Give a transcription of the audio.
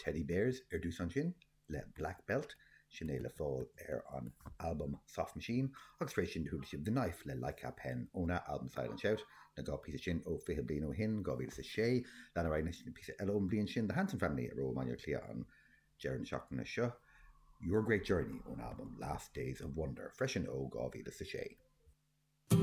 Teddybears ar dtús ansin le Black Belt, sin é le fáil ar an albam Soft Machine, agus tar éis sin do chuala sibh The Knife le Like a Pen óna albam Silent Shout, na dá phíosa sin ó 20 bliain ó shin, 2006. Lean ar aghaidh anois le píosa eile ón bhliain sin, The Hanson Family, a raibh i mBaile Átha Cliath an deireadh na seachtaine seo, Your Great Journey ón albam Last Days of Wonder, freisin ó 2006.